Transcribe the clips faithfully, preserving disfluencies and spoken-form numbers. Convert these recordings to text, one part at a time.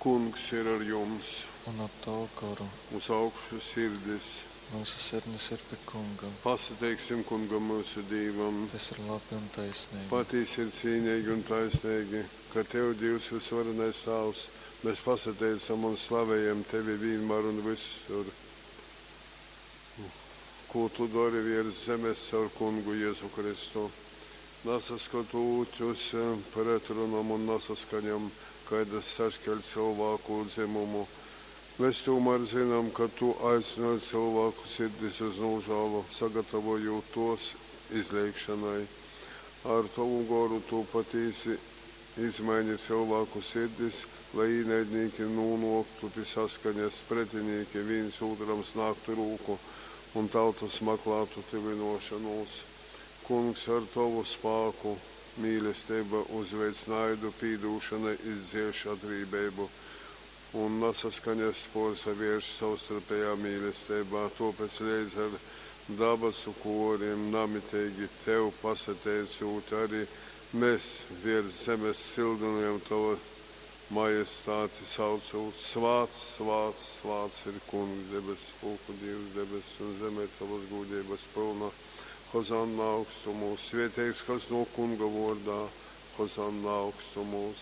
Kungs ir ar jums! Un ar tavu goru. Uz augšu sirdis! Myusu sirdis ir pi Kunga. Pasateiksim Kungam myusu Dīvam! Tys ir labi un taisneigi. Patīsi ir cīneigi un taisneigi, ka tev, Dīvs vysvarenais Tāvs, mes pasateicam un slavejam tevi vīnmār un vysur, kū tu dori viers zemes caur Kungu Jezu Kristu. Nasaskotūt uz pretrunom un nasaskaņom, kaidas saškeļ cylvāku dzymumu, mes tūmār zynam, ka tu aicynoj cylvāku sirdis uz nūžālu, sagatavojūt tōs izleigšonai. Ar tovu Goru tu patīsi izmaini cylvāku sirdis, lai īnaidnīki nūnōktu pi saskaņas, pretinīki vīns ūtram snāgtu rūku un tautas maklātu tyvynōšonūs. Kungs, ar tovu spāku mīlesteiba uzveic naidu, pīdūšona izdzieš atrībeibu un nasaskaņas pōrsavērš sovstarpejā mīlesteibā. Tōpēc leidz ar dabasu kōrim namiteigi tev pasateicūt, ari mes viers zemes cyldynojam tova majestāti, saucūt: Svāts, svāts, svāts ir Kungs, debesu pulku Dīvs, debess un zeme ir tovas gūdeibas pylna. Hozanna augstumūs, svētīgs, kas nōk Kunga vōrdā, Hozanna augstumūs.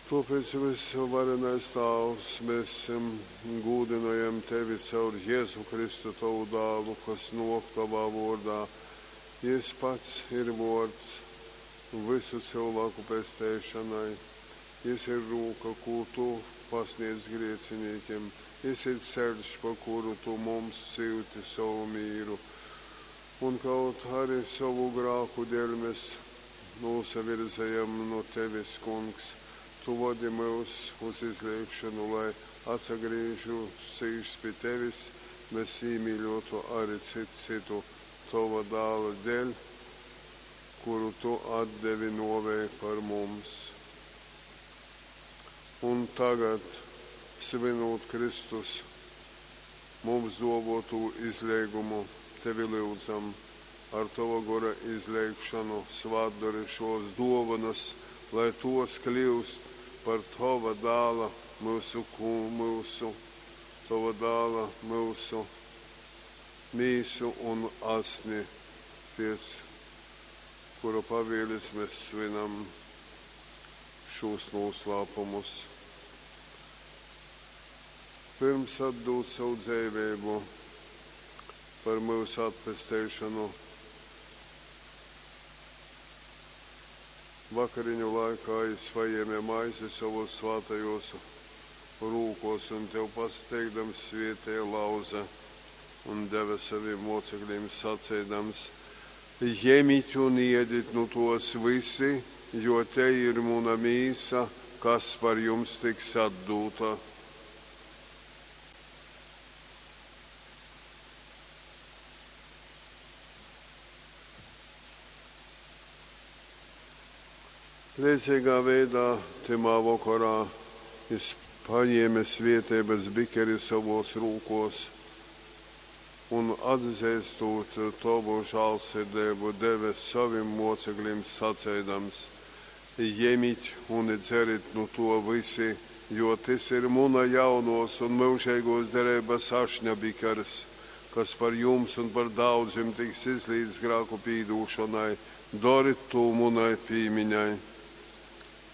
Tōpēc, vysvarenais Tāvs, mēs gūdynojam tevi caur Jēzu Kristu, tovu dālu, kas nōk tovā vōrdā. Jys pats ir vōrds vysu cylvāku pesteišonai. Jys ir rūka, kū tu pasniedz griecinīkim. Jys ir ceļš, pa kuru tu mums syuti sovu mīru. Un kaut arī sovu grāku dēļ mēs nūsavirzejam nu tevis, Kungs, tu vodi myus uz izleigšonu, lai atsagrīžušies pi tevis, mēs īmīļotu arī cits citu tova dāla dēļ, kuru tu atdevi nōvei par mums. Un tagad, svinūt Kristus mums duovuotū izleigumu, tevi lyudzam, ar tova Gora izleigšonu svātdori šōs dōvonas, lai tōs kļyust par tova dāla myusu, myusu, tova dāla myusu mīsu un asni, pēc kura pavieles mēs svinam šūs noslēpumus. Pirms atdūt savu dzeiveibu par myusu atpesteišonu, vakariņu laikā jis pajēme maizi sovōs svātajōs rūkōs un tev pasateikdams svietēja, lauze un deve savim mocekļim saceidams: Jemit un iedit nu tos vysi, jo tei ir muna mīsa, kas par jums tiks atdūta. Leidzeigā veidā tymā vokorā jis pajēme svieteibys bikeri sovuos rūkuos un, atzeistūt tovu žālsirdeibu, deve sovim muoceklim, saceidams: Jemit un dzerit nu tuo vysi, jo tys ir muna jaunuos un myužeiguos dereibys ašņa bikers, kas par jums un par daudzim tiks izlīts grāku pīdūšonai. Dorit tū munai pīmiņai.